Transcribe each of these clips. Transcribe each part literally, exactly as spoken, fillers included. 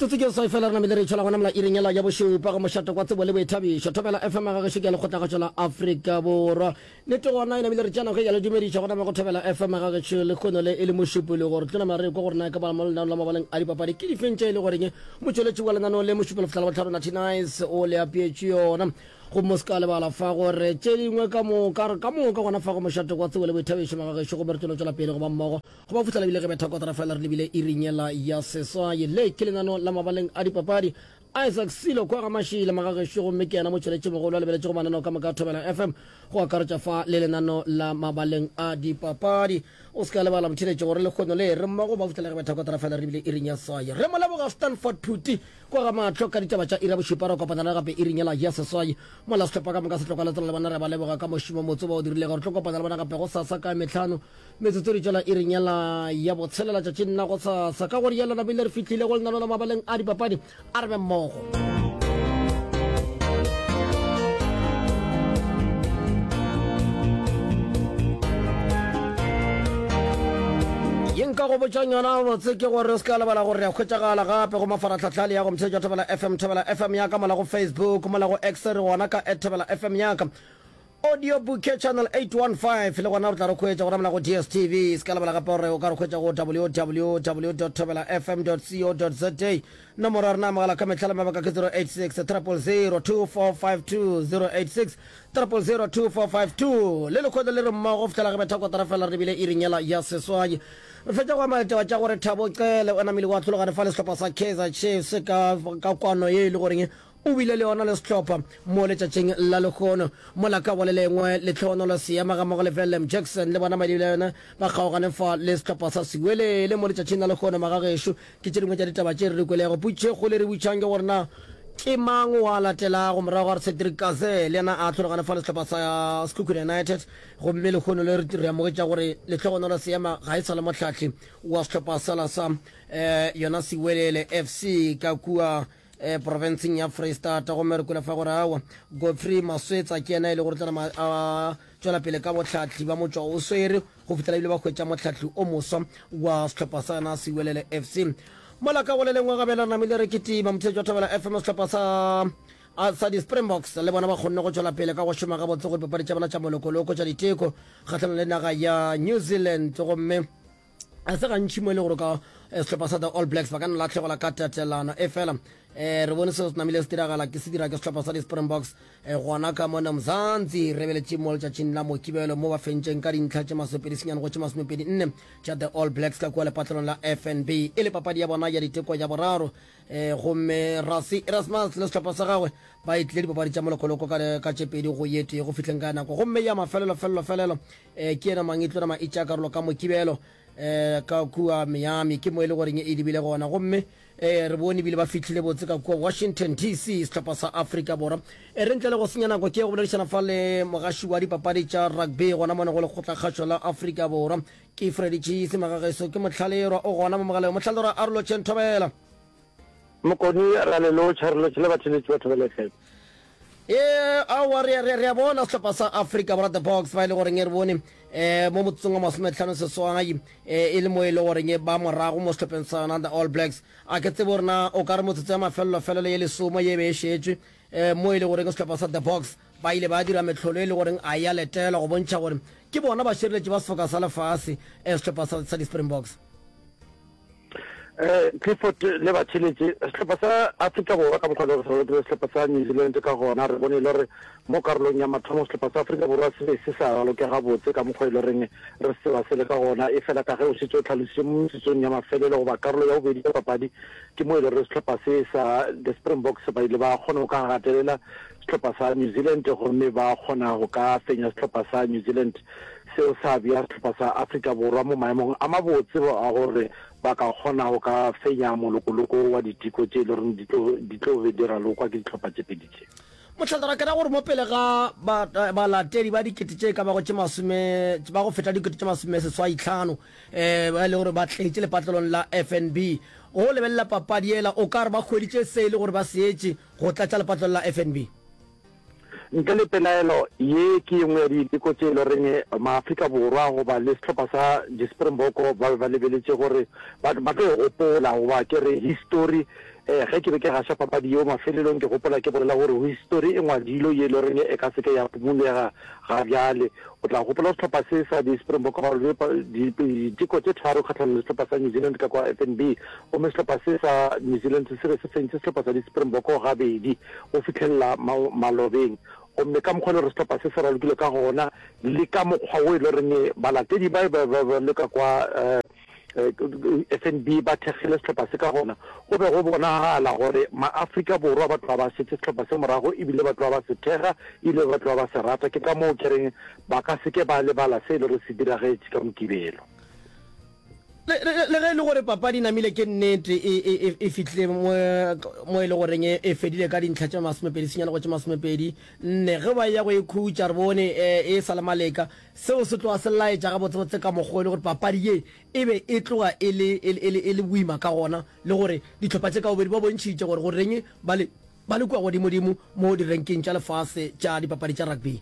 Metsotso ke seswai fela re namile re itšhola gona mola iring yela ya bošupa go mošate kwa tsebo le boithabišo. Thobela F M ga gešo ke ya lekgotlagašo la Afrika Borwa. Nnete gona e namile re tšea nako e ya le dumediša gona mo go Thobela F M ga gešo lehono le e le mošupologo. Re tlo nama re kwa gore na e ka ba mo lenaneong la mabaleng a dipapadi ke difeng tše e le goreng motšweletši wa lenaneo le mošupologo fihla Labohlano Natty Nice o le apeetše yona. Gomme o se ka lebala fa gore tše dingwe ka moka re ka moka gona fa go mošate kwa tsebo le boithabišo magagešo gomme re tlo no tšwela pele go ba mmogo go ba fihlela ebile ge betha kotara fela re lebile iring yela ya seswai. Le ke lenano la mabaleng a dipapadi. Isaac Silo kwa ga Mašila magagešo gomme ke yena motšweletši mogolo a lebeletšego mananeo ka moka a Thobela F M go akaretša fa le lenano la mabaleng a dipapadi. O se ka lebala motheeletši gore lehono le re mmogo ba fihlela ge betha kotara fela re lebile iring ya seswai. Re mo leboga Stanford Phuti kwa ga Mahlo ka ditaba tša iri ya bošupa re kopana le gape iring yela ya seswai mola sehlopha ka moka se tloka letswalo le bona re ba leboga ka mošomo motse ba o dirilego. Re tlo kopana le bona gape go sasa ka mehlano metsotso di tšwela iring yela ya botshelela tšatšing la go sasa. Ka gore yela namile re fihlile go lenano la mabaleng a dipapadi, a re be mmogo. Ye nka go botšang yona botse ke gore o se ka lebala gore re a hwetšagala gape go mafaratlhatlha le ya go mtheetša Thobela F M, Thobela F M ya ka mola go Facebook, mola go X re gona ka at Thobela F M ya ka. Audio Bouquet Channel eight one five le gona re tla re hwetša gona mola go D S T V. Se ka lebala gape gore o ka re hwetša go W W W dot thobela F M dot co dot za. Nomoro ya rena ya mogala ka mehla le mabaka ke zero eight six triple zero two four five two, zero eight six triple zero two four five two. Le lekgotla le re mmogo fihlela ge betha kotara fela re lebile iring yela ya seswai. Re fetša go amela ditaba tša gore Thabo Cele o namile wa hlologane fa le sehlopha sa Kaizer Chiefs ka ka kwano ye e le goreng o bile le yona le sehlopha mo letšatšing la lehono. Mola ka go le lengwe Letlhonolo Seema ga mmogo le Willem Jackson le bona madibile yona ba kgaogane fa le sehlopha sa Siwelele mo letšatšing la lehono. Magagešo ke tše dingwe tša ditaba tše re di kwelego. Potšišo e kgolo e re botšang ke gore na ke mang wa latelago morago ga Cedric Kaze le yena a hlologane fa le sehlopha sa Sekhukhune United, gomme lehono le re amogetša gore Letlhogonolo Seema ga e sa le mohlahli wa sehlopha sela sa um yona Siwelele F C ka kua eh, profenseng ya Freistata. Gomme re kwele fa gore awa Godfrey Maswetsa ke yena e le gore tla a tšwela pele ka bohlahli ba motšwa o swere go fihlela ebile ba hwetša mohlahli o moswa wa sehlopha sa yona Siwelele F C. Mola ka go le lengwe gabela re namile re kitima motheetši wa Thobela F M, sehlopha sa sa di-Springboks le bona ba kgonne go tšwela pele ka go šoma gabotse go dipapadi tša bona tša molokoloko tša diteko kgahlanong le naga ya New Zealand. Gomme a se gantši mo e le gore ka sehlopha sa the All Blacks ba ka no lahlegelwa ka tatelano, e fela um re bone seo se namile se diragala ke se dira ke sehlopha sa di-Springboks gona ka mona Mzansi. Re beletše mo letšatšing la Mokibelo mo ba fentšeng ka dintlha tše masomepedi senyane go tše masomepedi nne tša the All Blacks ka kua lepatlelong la F N B, e le papadi ya bona ya diteko ya boraro. um gomme Rassie Erasmus le sehlopha sa gagwe ba etlile dipapadi tša molokoloko ka, ka tše pedi go ye tee go fihleng ka nako, gomme ya mafelelo felelo felelo um ke yena mang e tlo nama e tšea karolo ka Mokibelo um ka kua Miami, ke mo e le goreng e lebile gona. Gomme um re bone ebile ba fihlile botse ka kua Washington D C sehlopha sa Afrika Borwa. E re ntle le go senya nako ke go boledišana fa le mogaši wa dipapadi tša rugby gona mone go lekgotlakgašo la Afrika Borwa, ke Freddy Cheese magageso, ke Motlhalerwa o gona mo mogaleng. Motlhalerwa, a re lotšheng, thobela. Mokoni, ra le lotšha, re lotšhe le batheletši ba Thobela F M. E aowa re re re a bona sehlopha sa Afrika Borwa, the Boks, ba e le goreng e re bone um mo motsotsong wa masometlhano seswai um e le mo e le goreng ba morago mo sehlopheng sa yona the All Blacks. A ke tsebe gore na o ka re motsotso ya mafelelo-felelo ye lesomo ye be e šetšwe um mo e le goreng sehlopha sa the Boks ba ile ba dira mehlolo e le goreng a ya letelwa go bontšha gore ke bona bašireletši ba sefoka sa lefase, um sehlopha sa, sa di-Springboks. um Clifford le batheletše, sehlopha sa Afrika Borwa ka mokgwa le gore se ralokile sehlopha sa New Zealand ka gona, re bone e le gore mo karolong ya mathomo sehlopha sa Afrika Borwa se be se sa raloke gabotse ka mokgwa e le goreng re se tseba se le ka gona. E fela ka ge o šetše o tlhalositše, mo metsotsong ya mafelelo goba karolo ya bobedi ya papadi ke mo e le gore sehlopha se sa the Springboks ba ile ba kgona go ka gatelela sehlopha sa New Zealand gomme ba kgona go ka fenya sehlopha sa New Zealand. Seo sa bea sehlopha sa Afrika Borwa mo maemong a mabotse a gore ba ka kgona go ka fenya molokoloko wa diteko tše e le goreng di tlo di tlo be di ralokwa ke dihlopha tše pedi tše. Mohlala, ke ra gore mo pele ga balatedi ba dikete tše ka bago tše masome, ba go feta dikete tše masome seswai tlhano, um ba e le gore ba tletše lepatlelong la F N B go lebelela papadi yela, o ka re ba hweditše se e le gore ba se etše go tlatša lepatlelo la F N B? Ntle le pelaelo, ye ke ye nngwe ya diteko tše e le goreng maAfrika Borwa goba le sehlopha sa di-Springbok ba be ba lebeletše gore ba, ba tlo e gopola goba ke re histori. um ge ke be ke gaša papadi yeo mafelelong, ke gopola ke bolela gore histori e ngwadilwe ye e le goreng e ka se ke ya pumulega ga bjale. O tla gopola sehlopha se sa di-Springbok ba rwele diteko tše tharo kgahlanong le sehlopha sa New Zealand ka kwa F N B, gomme sehlopha se sa New Zealand se be se fentše sehlopha sa di-Springbok gabedi go fihlelela malobeng. Gomme ka mokgwa e le gore sehlopha se se ralokile ka gona, le ka mokgwa wo e le goreng balatedi ba be ba le ka kwa F N B ba thekgile sehlopha se ka gona, go be go bonagala gore ma-Afrika Borwa ba tloga ba šetše sehlopha se morago, ebile ba tloga ba se thekga, ebile ba tloga ba se rata. Ke ka moo ke reng ba ka se ke ba lebala se e le gore se diragetše ka Mokibelo. Le, le, le ge e le gore papadi e namile ke nnete e, e, e, e fihlile mo, mo e le goreng e, e fedile ka dintlha tše masomepedi senyane go tše masomepedi nne, ge ba eya go e khutša re bone e, e sa le maleka. Seo se tloga se laetša gabotsebotse ka mokgwa e le gore papadi ye e be e tloga e le, e le, e le, e le boima ka gona, le gore dihlopha tše ka bobedi ba bontšhitše gore goreng ba le, ba le kua godimodimo mo direnkeng tša lefase tša dipapadi tša rugby.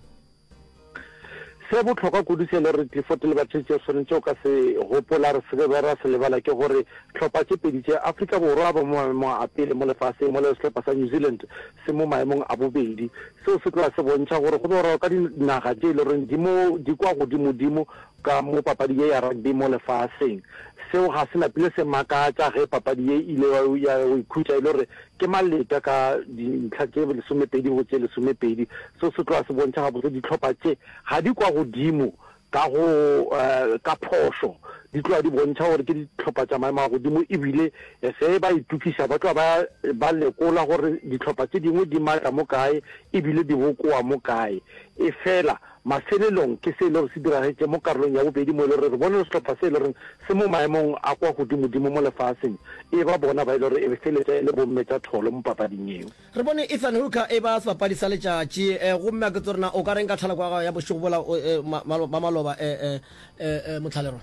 Se bohlokwa kudu se le re Clifford le batheetši re swanetše go ka se gopola, re se ke be ra se lebala ke gore hlopha tše pedi tše, Afrika Borwa ba mo maemong a pele mo lefaseng mola sehlopha sa New Zealand se mo maemong a bobedi. Seo se tloga se bontšha gore go be go raloka dinaga tše e le goreng di mo di kwa godimodimo ka mo papadi ye ya rugby mo lefaseng. Seo ga se napile se makatša ge papadi ye e ile ya go ikhutša e le gore ke maleta ka dintlha tše lesomepedi go tše lesomepedi. Seo se tloga se bontšha gabotse dihlopha tše ga di kwa godimo ka go ka phošo, di tloga di bontšha gore ke dihlopha tša maemo a godimo, ebile ge ba itokiša ba tloga ba ba lekola gore dihlopha tše dingwe di matla mo kae ebile di bokoa mo kae. Efela mafelelong ke se e le gore se diragetše mo karolong ya bobedi mo e le gore re bone sehlopha se e le goreng se mo maemong a kwa godimodimo mo lefaseng e ba bona ba e le gore e feletša e le bomme tša tholo mo papading yeo. Re bone Ethan Hooker e ba sebapadi sa letšatši, gomme a ke tsebe gore na o ka reng ka thaloko ya gago ya bošego bola ba maloba, Motlhalerwa?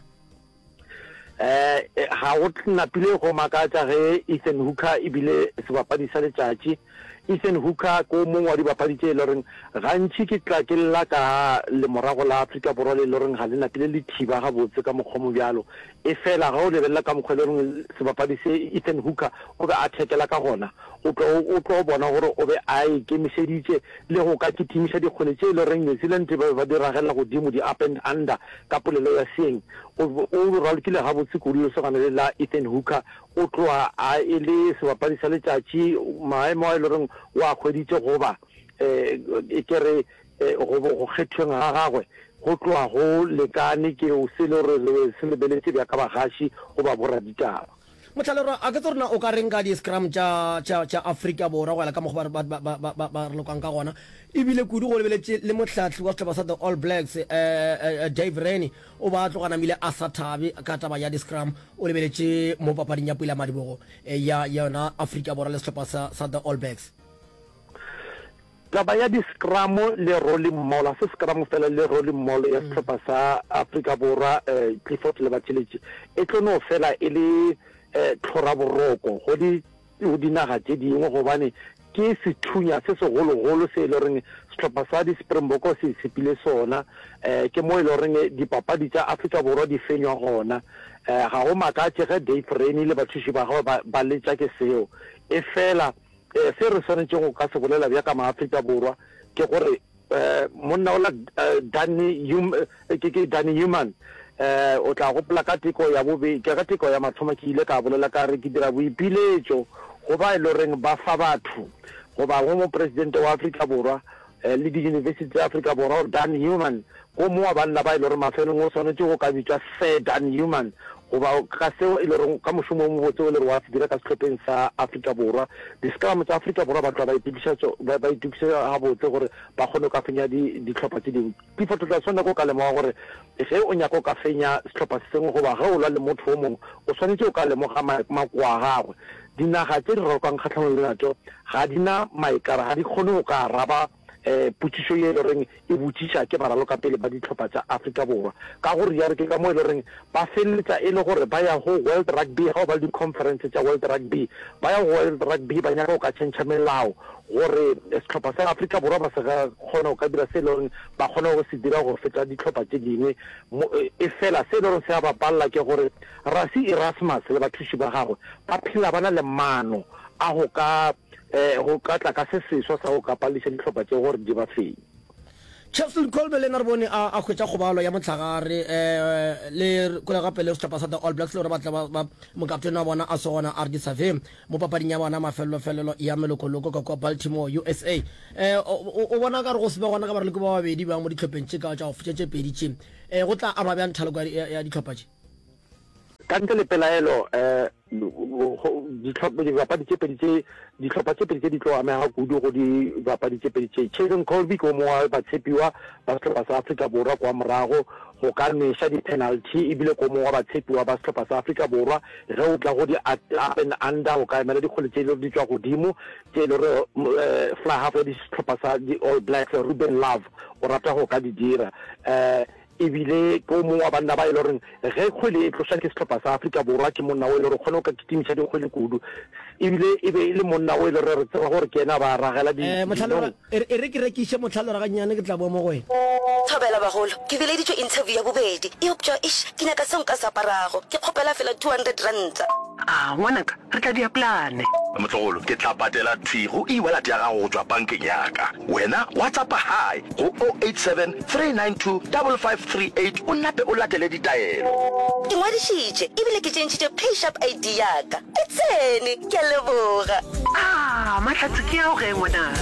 Ga go napile go makatša ge Ethan Hooker e bile sebapadi sa letšatši. Ethan Hooker ke o mongwe wa dibapadi tše e le goreng gantši ke tla ke lla ka lemorago la Afrika Borwa le e le goreng ga le napile le thiba gabotse ka mokgwa o mobjalo. Efela ge o lebelela ka mokgwa e le goreng sebapadi se Ethan Hooker o be a thekela ka gona, o tlo o tlo bona gore o be a ikemišeditše le go ka kitimiša dikgwele tše e le goreng New Zealand ba be ba di ragela godimo, di-up and under ka polelo ya seeng. O o ralokile gabotse kudu lesogana le la Ethan Hooker. O tloga a e le sebapadi sa letšatši, maemo a e le goreng o a hweditše goba um ke re go go kgethweng ga gagwe go tloga go lekane ke se e le gore re se lebeletše bjaka bagaši goba boraditaba. Motlhalerwa, a ke tsebe gore na o ka reng ka di-scrum tša, tša, tša Afrika Borwa go ya ka mokgwa ba, ba, ba, ba, ba, ba ralokang ka gona. Ebile kudu go lebeletše le mohlahli wa sehlopha sa The All Blacks, eh, eh, Dave Rennie, o ba a tloga namile a sa thabe ka taba ya di-scrum. O lebeletše mo papading ya pulamadibogo eh, ya yona Afrika Borwa le sehlopha sa, sa The All Blacks. Taba ya di-scrum le rolling maul, ga se scrum fela le rolling maul ya sehlopha sa Afrika Borwa, eh, Clifford le Batheletši, e tlo no fela e le eh, tlhoraboroko go di go dinaga tše dingwe, gobane ke sethunya se segologolo se e le goreng sehlopha sa di-Springbok se itshepile sona. Um ke mo e le goreng dipapadi tša Afrika Borwa di fenywa gona. Um ga go makatše ge Dave Rennie le bathuši ba gagwe ba, ba letša ke seo. E fela um se re swanetšeng go ka se bolela bja ka ma-Afrika Borwa ke gore um monna ola Danny Hum, ke ke Danny Human, um o tla gopola ka teko ya bobe, ka teko ya mathomo ke ile ka bolela ka re ke dira boipiletšo go ba e le goreng ba fa batho goba go mopresidente wa Afrika Borwa le diyunibesithi tša Afrika Borwa gore Dan Human ko mongwe wa banna ba e le gore mafelong o swanetše go ka bitšwa Sir Dan Human goba ka seo e le gore ka mošomo o mobotse o le gore wa se dira ka sehlopheng sa Afrika Borwa. Di-scrum tša Afrika Borwa ba tloga ba itokiša ba itokiša gabotse gore ba kgone go ka fenya dihlopha tše dingwe. Clifford, o tla swanela ke go ka lemoga gore ge o nyaka go ka fenya sehlopha se sengwe goba ge o lwa le motho o mongwe, o swanetše go ka lemoga makoa a gagwe. Dinaga tše di ralokang kgahlanong le natšo ga di na maikara, ga di kgone go ka araba um potšišo ye e le goreng e botšiša ke baralokapele ba dihlopha tša Afrika Borwa. Ka go realo ke ka mo e le goreng ba feleletša e le gore ba ya go World Rugby, ga go ba le di-conference tša World Rugby, ba ya go World Rugby ba nyaka go ka tšhentšha melao gore sehlopha sa Afrika Borwa ba se ga kgona go ka dira se e le goreng ba kgona go se dira go feta dihlopha tše dingwe. Efela se e le goreng se a ba palela ke gore Rassie Erasmus le bathuši ba gagwe ba phela ba na le maano a go ka go ka tla ka se seswa sa go ka palediša dihlopha tše gore di ba fenye. Cheslin Kolbe le yena re bone a a hwetša kgobalo ya mohlagare le kwele gape le sehlopha sa The All Blacks le gore ba tla ba ba mokaptene wa bona a se gona Ardie Savea mo papading ya bona mafelelo-felelo ya melokoloko ka kua Baltimore, U S A. O o bona ka re go se be gona ga baraloki ba babedi bjang mo dihlopheng tše ka tša go tše tše pedi tše go tla ama bjang thaloko ya ya dihlopha tše? Ka ntle le pelaelo, dibapadi tše pedi tše, dihlopha tše pedi tše di tlo amega kudu go dibapadi tše pedi tše. Cheslin Kolbe ke o mongwe wa batshepiwa ba sehlopha sa Afrika Borwa kwa morago go ka nweša di-penalty, ebile ke o mongwe wa batshepiwa ba sehlopha sa Afrika Borwa ge o tla go di-up and under, go ka emela dikgwele tše e le gore di tšwa godimo, tše e le gore fly half ya sehlopha sa di-All Blacks Ruben Love o rata go ka di dira. E bile ke o mongwe wa banna ba e le goreng ge kgwele e tlošwa ke sehlopha sa Afrika Borwa ke monna o e le gore o kgona go ka kitimiša dikgwele kudu. E bile e be e le monna o e le gore re tseba gore ke yena a ba ragela Eh, Mohlaloga, dinong. e re, e re ke rekiše Mohlaloga gannyane ke tla boa mo go wena. Thobela bagolo, ke bileditšwe interview ya bobedi, eupša eish, ke nyaka seo nka se aparago. Ke kgopela fela two hundred ranta. A, ngwanaka, re tla dia plane. Motlogolo, ke tla patela thwi go e-wallet ya gago go tšwa bankeng ya ka. Wena WhatsAppa hi go oh eight seven, three nine two, double five three eight o nape o latele ditaelo. Ke ngwadišitše ebile ke tšentšhitše PayShap I D ya ka. E tsene! Ke a leboga. Aa, mahlatse ke ao ge, ngwanaka.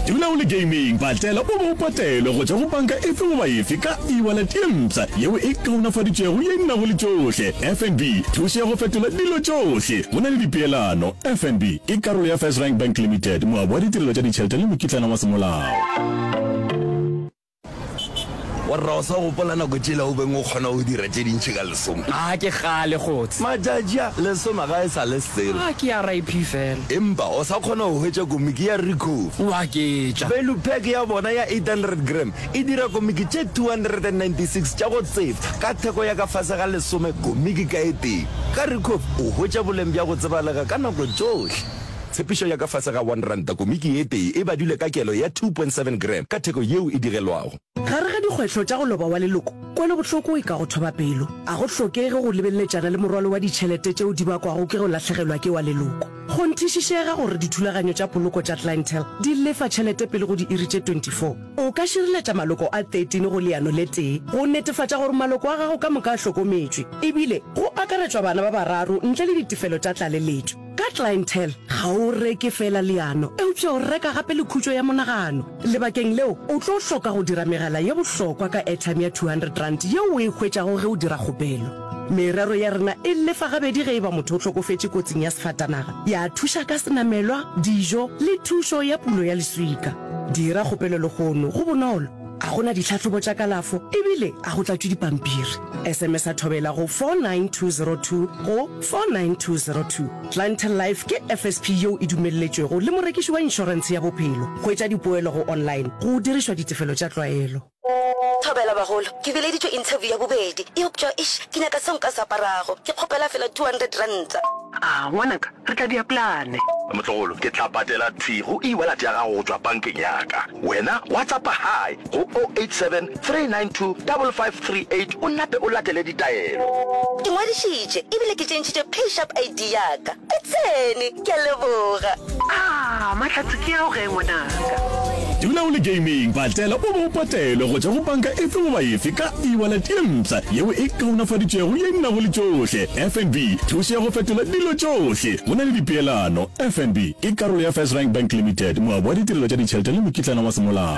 Dula o le gaming, patela o be o patelwe go tšwa go panka efe goba efe ka e-wallet ye mpsha yeo e kaonafaditšwego ye e nago le tšohle. F N B, thušo ya go fetola dilo tšohle go na le dipeelano. F N B ke karolo ya FirstRand Bank Limited, moabi wa ditirelo tša ditšhelete le mokitlana wa semolao. Warra o sa gopola nako tšela o beng o kgona go dira tše dintši ka lesome? A ke kgale kgotse. Matšatši a, lesome ga e sa le selo. A ke R I P fela. Empa o sa kgona go hwetša komiki ya Ricoh. O aketša. Value pack ya bona ya eight hundred gram e dira komiki tše two hundred and ninety six tša go tsefa ka theko ya ka fase ga lesome komiki ka e tee. Ka Ricoh o hwetša boleng bja go tsebalega ka nako tšohle. Tshepišo ya ka fase ga one ranta komiki e tee e badilwe ka kelo ya two point seven gram ka theko yeo e digelwago. Gare ga dikgwetlho tša go loba wa leloko, kwelobohloko e ka go thoba pelo. A go hlokege go lebeleletšana le morwalo wa ditšhelete tšeo di bakwago ke go lahlegelwa ke wa leloko. Kgonthišišega gore dithulaganyo tša poloko tša Clientele di lefa tšhelete pele go diiri tše twenty four. O ka šireletša maloko a thirteen go leano le tee go netefatša gore maloko a gago ka moka a hlokometšwe, ebile go akaretšwa bana ba bararo ntle le ditefelo tša tlaleletšo. Ka Clientele, ga o reke feela leano, eupša o reka gape le khutšo ya monagano. Lebakeng leo, o tlo hloka go dira megala ye bohlokwa ka airtime ya two hundred rand yeo o e hwetšago ge o dira kgopelo. Merero ya rena e lefa gabedi ge e ba motho o hlokofetše kotsing ya sefatanaga, ya thuša ka senamelwa, dijo le thušo ya pulo ya leswika. Dira kgopelo lehono, go bonolo, a go na ditlhahlobo tša kalafo ebile a go tlatšwe dipampiri. S M S a thobela go four nine two zero two go four nine two zero two. Clientele Life ke F S P yeo e dumelletšwego le morekiši wa inšorentshe ya bophelo. Hwetša dipoelo go online go dirišwa ditefelo tša tlwaelo. Thobela bagolo, ke bileditšwe interview ya bobedi, eupša eish, ke nyaka seo nka se aparago. Ke kgopela fela two hundred ranta. A, ngwanaka, re tla dia plane. Motlogolo, ke tla patela thwi go e-wallet ya gago go tšwa bankeng ya ka. Wena WhatsAppa hi go oh eight seven, three nine two, double five three eight o nape o latele ditaelo. Ke ngwadišitše ebile ke tšentšhitše PayShap I D ya ka. E tsene! Ke a leboga. A, mahlatse ke ao ge, ngwanaka. Dula o le gaming, patela o be o patelwe go tšwa go panka efe goba efe ka e-wallet ye mpsha yeo e kaonafaditšwego ye e nago le tšohle. F N B, thušo ya go fetola dilo tšohle go na le dipeelano. F N B ke karolo ya FirstRand Bank Limited, moabi wa ditirelo tša ditšhelete le mokitlana wa semolao.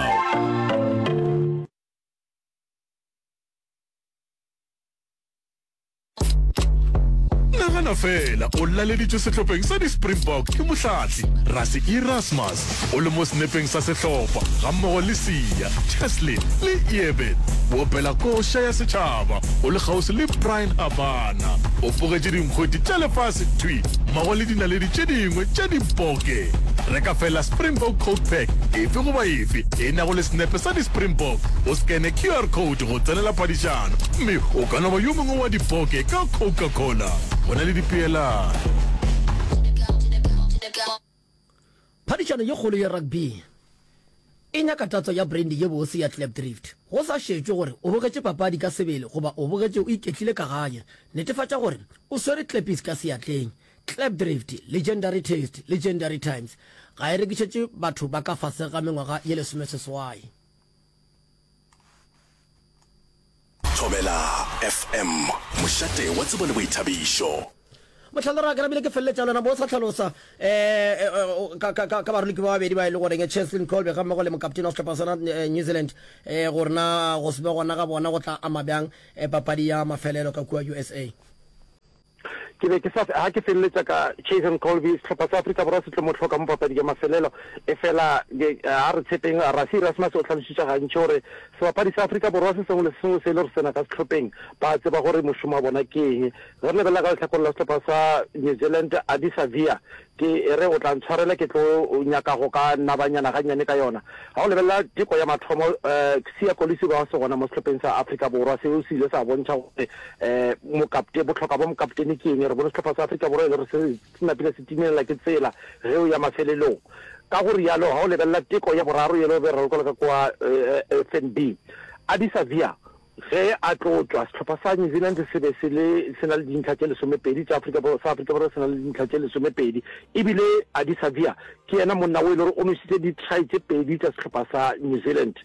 Nagana fela o laleditšwe sehlopheng sa di-Springbok ke mohlahli Rassie Erasmus, o le mo senepeng sa sehlopha gammogo le Siya, Cheslin le Eben. O opela koša ya setšhaba o le kgauswi le Bryan Habana. O pogetše dinkgwete tša lefase thwi mmogo le dinaledi tše dingwe tša dipoke. Reka fela Springbok Coke Pack efe goba efe e nago le senepe sa di-Springbok, o skene Q R code go tsenela phadišano mme o ka no ba yo mongwe wa dipoke ka Coca-Cola. Go na le dipeelano. Phadišano ye kgolo ya rugby e nyaka tatso ya brandy ye bose ya Klipdrift. Go sa šetšwe gore o bogetše papadi ka sebele goba o bogetše o iketlile ka gae, netefatša gore o swere Klippies ka seatleng. Klipdrift, legendary taste, legendary times, ga e rekišetšwe batho ba ka fase ga mengwaga ye lesomeseswai. Thobela F M, mošate wa tsebo le boithabišo. Mohlala, ke namile ke feleletša le wena bo sa hlalosa um ka, ka, ka, ka baroloki ba babedi ba e le goreng Cheslin Kolbe ga mmogo le mokaptene wa sehlopha sona New Zealand um gore na go se be gona ga bona go tla ama bjang papadi ya mafelelo ka kua U S A. Ke be ke sa ha ke feleletša ka Cheslin Kolbe, sehlopha sa Afrika Borwa se tlo mo hloka mo papadi ya mafelelo. Efela a re tshepeng, Rassie Erasmus o hlalošitše gantši gore sebapadi sa Afrika Borwa se sengwe le se sengwe se e le gore se na ka sehlopheng ba tseba gore mošomo wa bona ke eng. Ge re lebelela ka lehlakoreng la sehlopha sa New Zealand, Ardie Savea, ke e re o tla ntshwarela ke tlo nyaka go ka nabanyana gannyane ka yona. Ga o lebelela teko ya mathomo, Siya Kolisi o be a se gona mo sehlopheng sa Afrika Borwa. Seo se ile sa bontšha gore mokapte, bohlokwa bja mokaptene ke eng. Re bone sehlopha sa Afrika Borwa e le gore se se napile se timelela ke tsela ge o ya mafelelong. Ka go rialo, ga o lebelela teko ya boraro yela o be re raloka ka kua F N B, Ardie Savea ge a tlo tšwa, sehlopha sa New Zealand se be se le se na le dintlha tše lesomepedi, tša Afrika Borwa, sa Afrika Borwa se na le dintlha tše lesomepedi. E bile Ardie Savea ke yena monna o e le gore o nwešitše di-try tše pedi tša sehlopha sa New Zealand.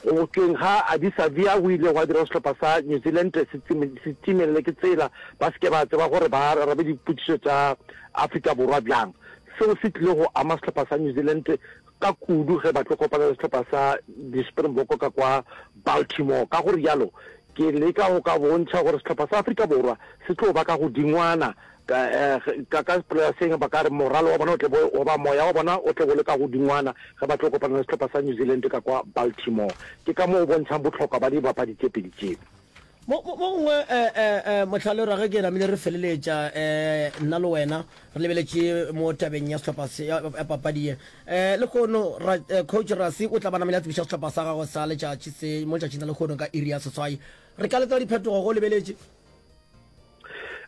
Go tšweng ga Ardie Savea go ile gwa dira gore sehlopha sa New Zealand se se timelele ke tsela, ba se ke ba tseba gore ba arabe dipotšišo tša Afrika Borwa bjang. Seo se tlile go ama sehlopha sa New Zealand ka kudu ge ba tlo kopana le sehlopha sa di-Springbok ka kwa Baltimore. Ka go rialo, ke leka go ka bontšha gore sehlopha sa Afrika Borwa se tlo ba ka godingwana ka ka ka polaseng, ba ka re moralo wa bona o tle bo goba moya wa bona o tle bo le ka godingwana ge ba tlo kopana le sehlopha sa New Zealand ka kwa Baltimore. Ke ka mo go bontšhang bohlokwa ba dibapadi tše pedi tše. Mo mo gongwe Mohlale ra ge ke namile re feleletša um nna le wena re lebeletše mo tabeng ya sehlopha se ya papadi ye um lehono ra coach Rassie o tla ba namile a tsebiša sehlopha sa gagwe sa letšatši se mo letšatšing la lehono ka iri ya seswai. Re ka letela diphetogo go lebeletše?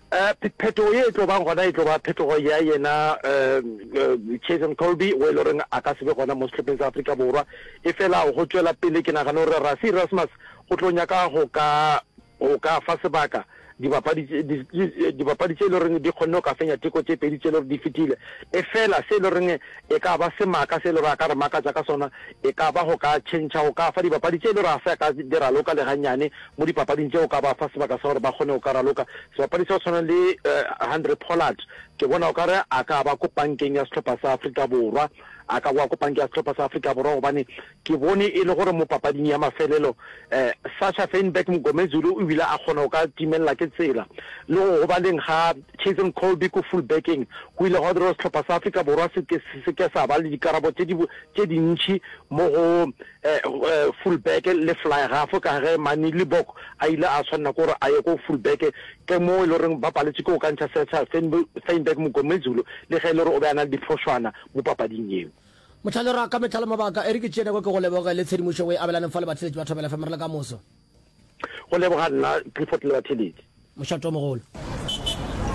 Um phetogo ye e tlo bang gona e tlo ba phetogo ya yena um Cheslin Kolbe o e le goreng a ka se be gona mo sehlopheng sa Afrika Borwa. Efela go tšwela pele ke nagana gore Rassie Erasmus o tlo nyaka go ka go ka fa sebaka dibapadi dibapadi tše e le goreng di kgonne go ka fenya teko tše pedi tše e le gore di fetile. Efela se e le goreng e ka ba semaka se e le gore a ka re makatša ka sona e ka ba go ka tšhentšha go ka fa dibapadi tše e le gore ga se a ka di raloka le gannyane mo dipapading tše go ka ba fa sebaka sa gore ba kgone go ka raloka. Sebapadi sa go tshwana le Handre Pollard ke bona o ka re a ka ba ko pankeng ya sehlopha sa Afrika Borwa, a ka boa ko pankeng ya sehlopha sa Afrika Borwa gobane ke bone e le gore mo papading ya mafelelo um Sacha Feinberg Mngomezulu o bile a kgona go ka timelela ke tsela. Le go gobaleng ga Cheslin Kolbe ko fullbackeng go ile gwa dira gore sehlopha sa Afrika Borwa se ke se ke sa ba le dikarabo tše di tše dintši mo go fullback le fly half ka ge Manie Libbok a ile a tshwanela ke gore a ye ko fullback, ke mo e le goreng ba paletše ke go ka ntšha Sacha Feinberg Mngomezulu le ge e le gore o be a na le diphošwana mo papading yeo. Mohlale ra ka mehla le mabaka e re ke tšee nako ke go leboge le tshedimošo o e abelaneng fa le batheeletši ba Thobela F M re le ka moso. Go leboga nna Clifford le batheeletši. Mošate o mogolo.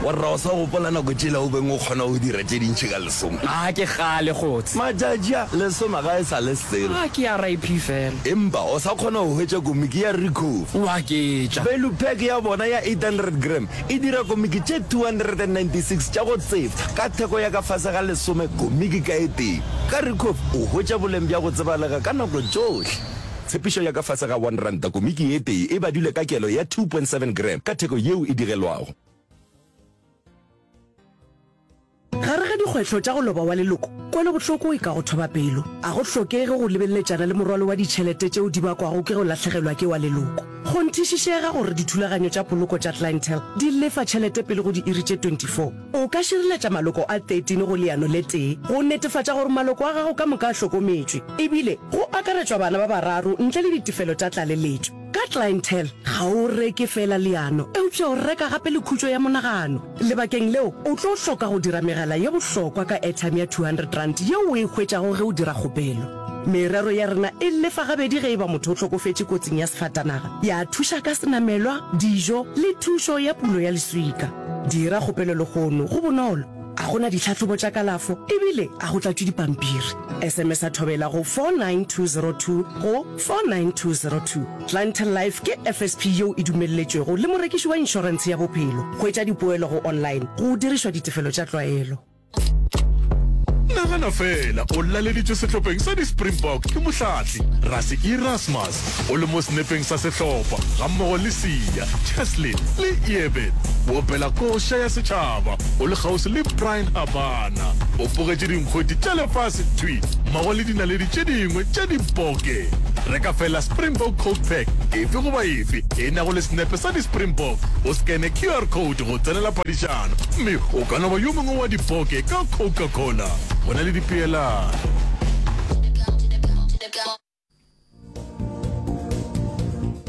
Warra o sa gopola nako tšela o beng o kgona go dira tše dintši ka lesome? A ke kgale kgotse. Matšatši a, lesome ga e sa le selo. A ke R I P fela. Empa o sa kgona go hwetša komiki ya Ricoffy. O aketša. Value pack ya bona ya eight hundred gram e dira komiki tše two hundred and ninety-six tša go tsefa ka theko ya ka fase ga lesome komiki ka e tee. Ka Ricoffy o hwetša boleng bja go tsebalega ka nako tšohle. Tshepišo ya ka fase ga one ranta komiki e tee e badilwe ka kelo ya two point seven gram ka theko yeo e digelwago. Gare ga dikgwetlho tša go loba wa leloko, kwelobohloko e ka go thoba pelo. A go hlokege go lebeletšana le morwalo wa ditšhelete tšeo di bakwago ke go lahlegelwa ke wa leloko. Kgonthišišega gore dithulaganyo tša poloko tša Clientele di lefa tšhelete pele go diiri tše twenty-four. O ka šireletša maloko a thirteen go leano le tee go netefatša gore maloko a gago ka moka a hlokometšwe, ebile go akaretšwa bana ba bararo ntle le ditefelo tša tlaleletšo. Ka Clientele, ga o reke feela leano, eupša o reka gape le khutšo ya monagano. Lebakeng leo, o tlo hloka go dira megala ye bohlokwa ka airtime ya two hundred rand yeo o e hwetšago ge o dira kgopelo. Merero ya rena e lefa gabedi ge e ba motho o hlokofetše kotsing ya sefatanaga, ya thuša ka senamelwa, dijo le thušo ya pulo ya leswika. Dira kgopelo lehono, go bonolo, a go na ditlhahlobo tša kalafo ebile a go tlatšwe dipampiri. S M S a Thobela go four nine two zero two go four nine two zero two. Clientele Life ke F S P yeo e dumelletšwego le morekiši wa inšorentshe ya bophelo. Hwetša dipoelo go online go dirišwa ditefelo tša tlwaelo. Nagana feela o laleditšwe sehlopheng sa di-Springbok ke mohlahli Rassie Erasmus, o le mo senepeng sa sehlopha gammogo le Siya, Cheslin le Eben, o opela koša ya setšhaba o le kgauswi le Bryan Habana, o bogetše dinkgwete tša lefase thwi mmogo le dinaledi tše dingwe tša diboke. Reka feela Springbok Coke Pack efe goba efe e nago le senepe sa di-Springbok, o skene Q R code go tsenela phadišano mme o ka no ba yo mongwe wa diboke ka Coca-Cola. Go na le dipeelano.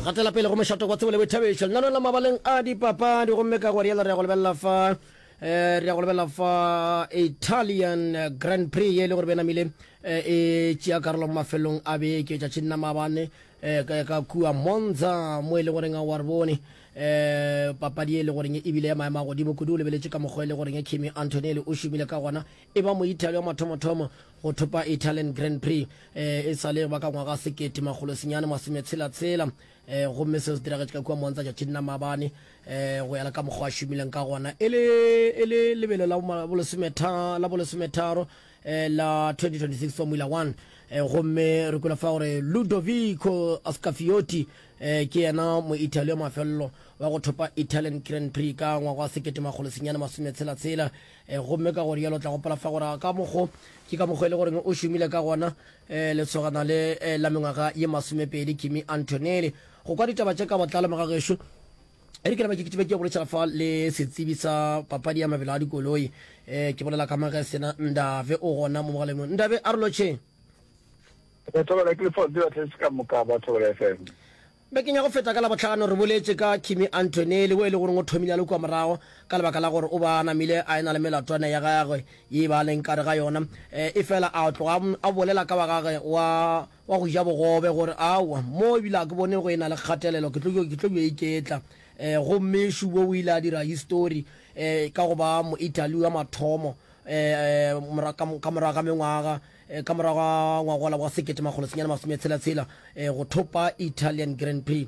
Gatela pele go mošato wa tsebo le boithabišo lenaneo la mabaleng a dipapadi, gomme ka go rialo re ya go lebelela fa um re ya go lebelela fa Italian Grand Prix ye e le gore benamile e tšea karolo mo mafelong a beke tšatšing la maabane um ka kua Monza, mo e le goreng a wa re bone um papadi e le goreng ebile ya maemo a godimo kudu. O lebeletše ka mokgwa e le goreng Kimi Antonelli o šomile ka gona, e ba Moitaly wa mathomothomo go thopa Italian Grand Prix um e sa le ba ka ngwaga sekete makgolo senyane masometshela-tshela um gomme seo se diragetše ka kua Monza tšatšing la maabane. um go ya le ka mokgwa a šomileng ka gona, e le lebelo la bolesometharo la twenty twenty-six Formula one, gomme re kwele fa gore Ludovico Scaffiotti ke yena Moitaly wa mafelelo wa go thopa Italian Grand Prix ka ngwaga wa sekete makgolo senyane masometshela-tshela. Gomme ka gore yalo tla gopola fa gore ka mokgo ke ka mokgwa e le goreng o šomile ka gona lesogana le la mengwaga ye masomepedi Kimi Antonelli. Go kwa ditaba tše ka botlalo, mogagešo, e re ke napa ke kitime ke boledišana fa le setsebi sa papadi ya mabelo a dikoloi. um ke bolela ka Magesena Ndave, o gona mo mogaleng. Ndave, a re lotšheng. Thobela ke lefo batletse ka moka ba Thobela F M. Bekeng ya go feta ka Labohlano re boletše ka Kimi Antonelli, o e le goreng o thomile a le kua morago ka lebaka la gore o ba namile a e na le melatwana ya gagwe ye ba leng kare ga yona, e fela a tloga a bolela ka wa gagwe wa wa go ja bogobe gore aowa mo ebile a ke bone go e na le kgatelelo, ke tlo ke tlo yo iketla. um gomme Shubo o ile a dira history um ka go ba Moitaly wa mathomo um ka morago ga mengwaga, ka morago ga ngwagola wa sekete makgolo senyane masometshela-tshela, go thopa Italian Grand Prix.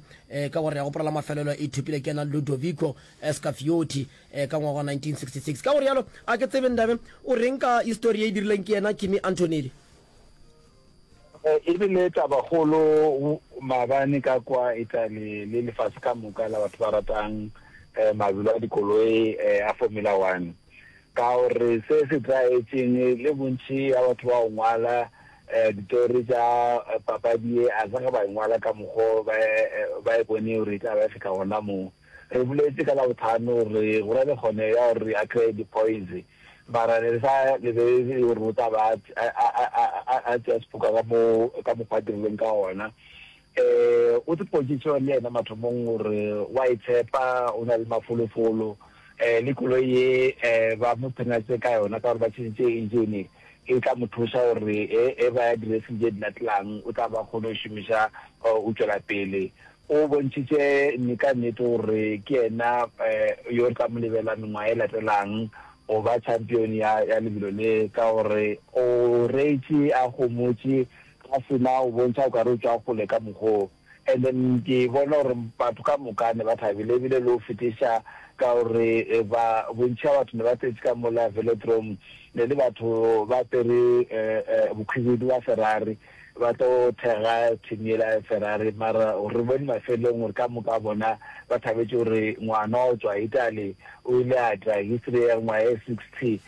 Ka gore ya gopola la mafelelo e thopile ke yena Ludovico Scaffiotti ka ngwaga wa nineteen sixty-six. Ka gore yalo a ke tsebe, Ndabe, o reng ka history ye e dirileng ke yena Kimi Antonelli? E bile tabakgolo maabane ka kwa Italy le lefase ka moka la batho ba ratang mabelo a dikoloi a Formula One, ka gore se se tlwaetšeng le bontši ya batho ba go ngwala ditori tša papadi ye a se ge ba e ngwala ka mokgo ba e bone gore e tla ba e fihla gona moo. Re boletše ka Labohlano gore go na le kgone ya gore a kry-e di-points, mara ne re sa lebelele gore o tla ba a tšea sefoka ka mo ka mokgwa a dirileng ka gona. um O tsepotšitše le yena mathomong gore wa e tshepa, o na le mafolofolo, um le koloi ye um ba mo phenatše ka yona ka gore ba tšhentšhe engine, e tla mo thuša gore e ba ya di-racing tše di latelang o tla ba kgone go šomiša o tšwela pele. O bontšhitše nne ka nnete gore ke yena yo re tla mo lebela mengwaga e latelang go ba champion ya ya lebelo le, ka gore o reetše a homotše a sena go bontšha o ka re o tšwa kgole ka mokgoo. And then ke bona gore batho ka moka ne ba thabile ebile le go fetiša, ka gore ba bontši ba batho ne ba tletše ka mola velodrome, ne le batho ba apere bokhwibidu ba Ferrari ba tlo thekga team yela ya Ferrari. Mara re bone mafelong gore ka moka bona ba thabetše gore ngwana wa go tšwa Italy o ile a dira history ya ngwaga e sixty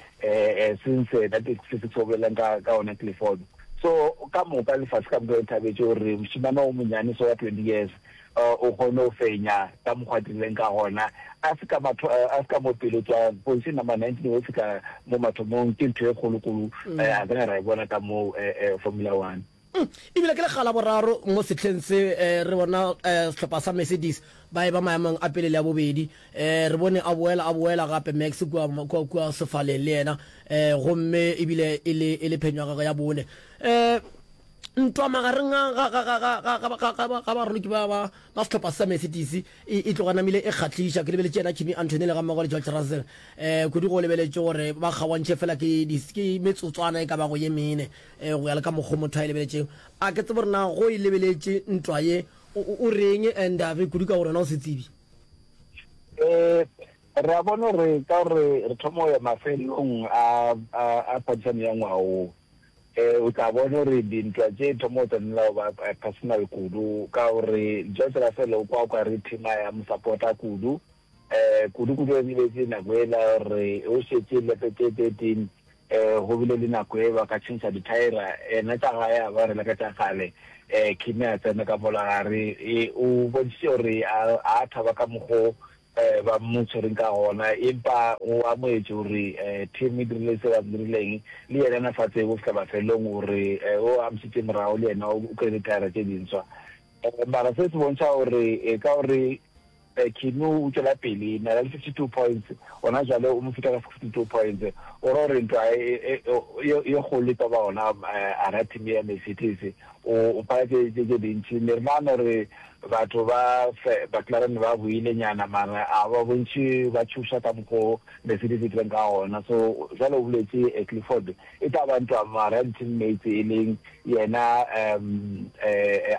since nineteen sixty-six o bolelang ka ka ona Clifford. So ka moka lefase ka moka le thabetše gore mošemane o monyane so wa twenty years o kgone go fenya ka mokgwa a dirileng ka gona, a se ka matho a se ka mo pele tswa position number nineteen go fihla mo mathomong, ke ntho e kgolokgolo a ka ra e bona ka mo Formula One. Ebile ke lekga la boraro mo sehleng se re bona sehlopha sa Mercedes ba eba maemong a pele le a bobedi. Re bone a boela a boela gape Max kua, kua, kua sefaleng le yena, gomme ebile e le, e le phenyo ya gagwe ya bone. Ntwa magareng ga, ga, ga, ga, ga, ga, ga, ga, ga baraloki ba, ba, ba sehlopha sa Mercedes e, e tloga namile e kgahliša. Ke lebeletše yena Kimi Antonelli gammogo le George Russell, kudu go lebeletše gore ba kgaoantšhe fela ke, ke metsotswana e ka bago ye mene. Go ya le ka mokgo motho a e lebeletšego. A ke tsebe gore na go e lebeletše ntwa ye, o, o, o reng, Ndavi, kudu ka gore wena o setsebi? Eh, re a bona gore ka gore re thoma go ya mafelelong a, a, a phadišano ya ngwaga wo, eh, o tla bona gore dintwa tše thoma go tsenela go ba personal kudu, ka gore George Russell o kwa o ka re team ya mo support-a kudu, eh, kudu-kudu re lebetše nako ela gore o šetše lepe tše thirteen, um go bile le nako e ba ka tšhentšha dithaera, yena tša gae a ba rela ka tša kgale, um Kimi a tsena ka mola gare, e o bontšhitše gore a a thaba ka mokgo um ba mo tshwereng ka gona, empa o amogetše gore um team e dirile se ba se dirileng, le yena na sa tsebe go fihla mafelelong gore o amošitše morago le yena o kry-ile dithaera tše dinswa. Um mara se se bontšha gore e ka gore Kimi o tšwela pele na le fifty two points, gona jwale o mo feta ka sixty two points. O ra gore ntwa e kgolo e tlo ba gona gare team ya Mercedes. O phala tše tše dintši. Ne re nagana gore batho ba McLaren ba boile nyana mara a ba bontši ba tšhoša ka mokgo Mercedes e tlileng ka gona. So jwale o boletše Clifford, e tla ba ntwa mara ya di-teammates e leng yena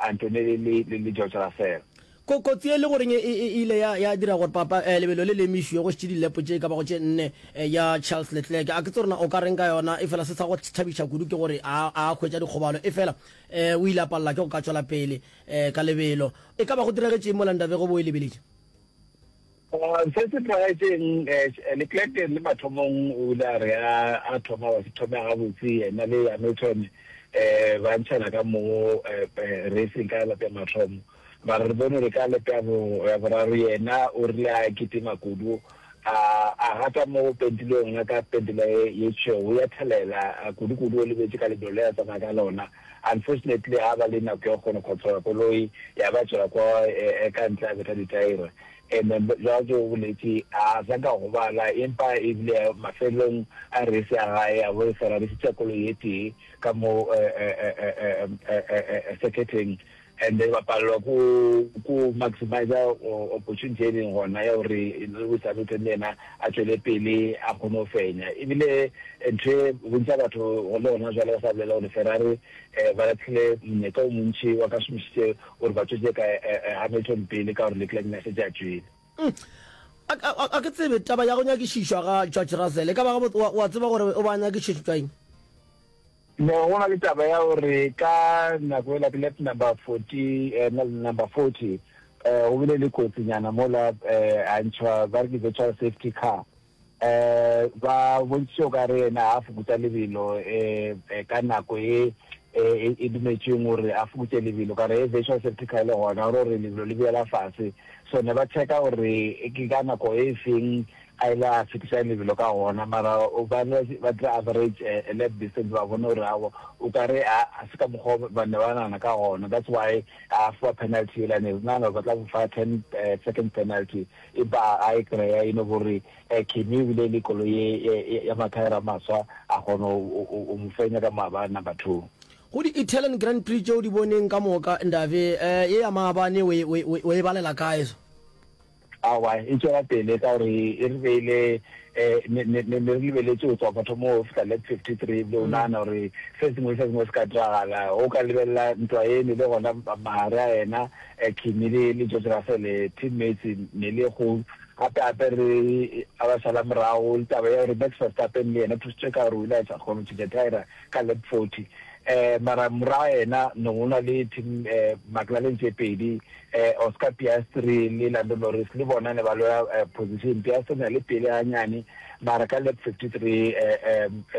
Antonelli le George Russell. Ko, kotsi e le goreng e, e, e ile ya, ya dira gore papa, eh, lebelo le le emišwe go šetše dilepo tše e ka bago tše nne, eh, ya Charles Leclerc. A ke tsebe gore na o ka reng ka yona, efela se sa go thabiša kudu ke gore a, a hwetša dikgobalo, efela, eh, o ile a palela ke go ka tšwela pele, eh, ka lebelo. E ka ba go diragetše eng mola Ndabego bo e lebeletše? Se se diragetšeng, eh, Leclerc le mathomong o ile a re a, a thoma wa se thome gabotse, yena le Hamilton, eh, ba ntšhana ka mo, eh, eh, racing ka lap ya mathomo. Mara re bone gore ka lap ya bo, ya boraro yena o rile a kitima kudu, a, a gata mo go pentilweng gona ka pentela ye, ye tšhweu, ya thelela kudu-kudu, o lebetše ka lebelo le a tsamaya ka lona. Unfortunately ga ba le nako ya go kgona go controla koloi, ya ba tšwela kwa ka ntle a betha ditaere. And then bjalo ke o boletše, a sa nka gobala, empa ebile mafelelong a race ya gae a bo Ferrari šetša koloi ye tee ka mo circuiteng. And then ba palelwa ko ko maximizer opportunity e leng gona ya gore Lewis Hamilton le yena a tšwele pele a kgone go fenya. Ebile ntho e bontši bja batho le gona jwale ba sa bolela gore Ferrari ba lahlile monyetla o montši wa ka šomišitše gore ba tšwetše ka Hamilton pele ka gore Leclerc ne a šetše a tšwele. A, a, a ke tsebe taba ya go nyakišišwa ga George Russell e ka ba gabotse, wa, wa tseba gore o ba nyakišišetšwa eng? Ne go na le taba ya gore ka nako yela ke lap number forty, number forty, go bile le kotsi nyana mola a ntšhwa ba re ke virtual safety car. Ba bontšhitše o ka re yena a fokotša lebelo ka nako ye e dumetšweng gore a fokotše lebelo, ka re virtual safety car e le gona gore lebelo le boela fase. So ne ba checka gore ke ka nako e feng a ile a fetiša lebelo ka gona, mara ba ne ba dira average lap distance ba bona gore aowa o ka re a se ka mokgwa ba ne ba nagana ka gona, that's why a fiwa penalty yela, ne re nagana gore ba tla mo fa ten second penalty empa a e kry-a e no gore Kimi o bile le koloi ye ya mathaere a maswa a kgona go mo fenya ka maabane number two. Go di-Italian Grand Prix tše o di boneng ka moka Ndave, ye ya maabane o e balela kae? Aowa, e tšwela pele ka gore e re beile, ne, ne, ne re lebeletše go tswa mathomo go fihla lap fifty three, ebile o nagana gore se sengwe le se sengwe se ka diragala. O ka lebelela ntwa ye ne le gona magare a yena Kimi le, le George Russell, teammates, ne le kgolo. Gape, gape re a ba šala morago le taba ya gore Max Verstappen le yena o thusitšwe ka gore o ile a sa kgone go tšhentšha thaera ka lap forty. Mara morago yena ne go na le team McLaren tše pedi, Oscar Piastri le Lando Norris le bona ne ba lwela position. Piastri ne a le pele ganyane mara ka lap fifty three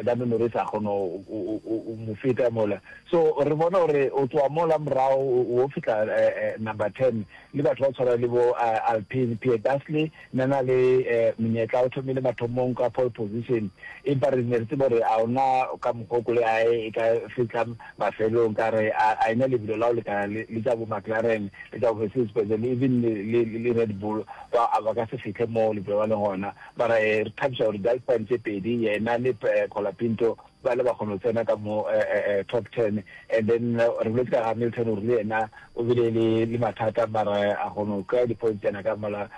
Lando Norris a kgona go mo feta mola. So re bona gore o tloga mola morago o fihla number ten le batho ba tshwana le bo Alpine. Pierre Gasly ne a na le monyetla, o thomile mathomong ka pole position empa re ne re tseba gore a ona ka mokgwa o koloi ya hae e ka fihla fihla mafelong ka re a a ena lebelo la go lekana le le tša bo McLaren le tša bo Mercedes Benz le even le le le Red Bull ba a ba ka se fihle mo lebelo ba leng gona. Mara eh re thabiša gore di-Alpine tše pedi yena le Colapinto ba ile ba kgona go tsena ka mo top ten and then re boletše ka Hamilton gore le yena o bile le le mathata mara a kgona go kry-a di-points tsena ka mola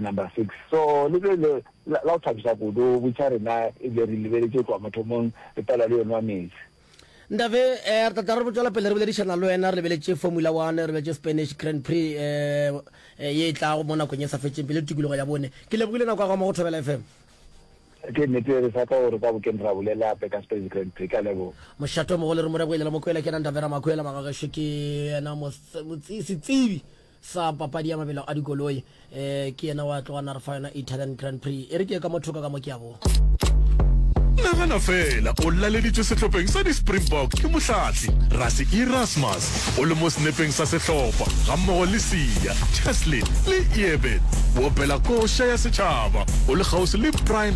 number six. So le bile le la go thabiša kudu botša rena ebile re lebeletše go tloga mathomong re palelwa le yo nwa meetse. Ntate, eh, re tla tla re tšwela pele re boledišana le wena re lebeletše Formula One, re lebeletše Spanish Grand Prix eh, eh, ye e tlago mo nakong e sa fetšeng pele tikologo ya bone. Ke lebogile nako ya gago mo go Thobela F M. Ke nnete re sa tla gore ka bokeng ra bolela gape ka Spanish Grand Prix. Ke a leboga. Mošate o mogolo re mo reboile la Mokwela ke yena Ndavera Makwela magagešo ke yena setsebi sa papadi ya mabelo a dikoloi um ke yena wa tloga na re fa yona Italian Grand Prix e re ke ye ka mo thoko ka mo ke a boa. Nagana feela o laleditšwe sehlopheng sa di-Springbok ke mohlahli Rassie Erasmus o le mo senepeng sa sehlopha gammogo le Siya, Cheslin le Eben. O opela koša ya setšhaba o le kgauswi le Brian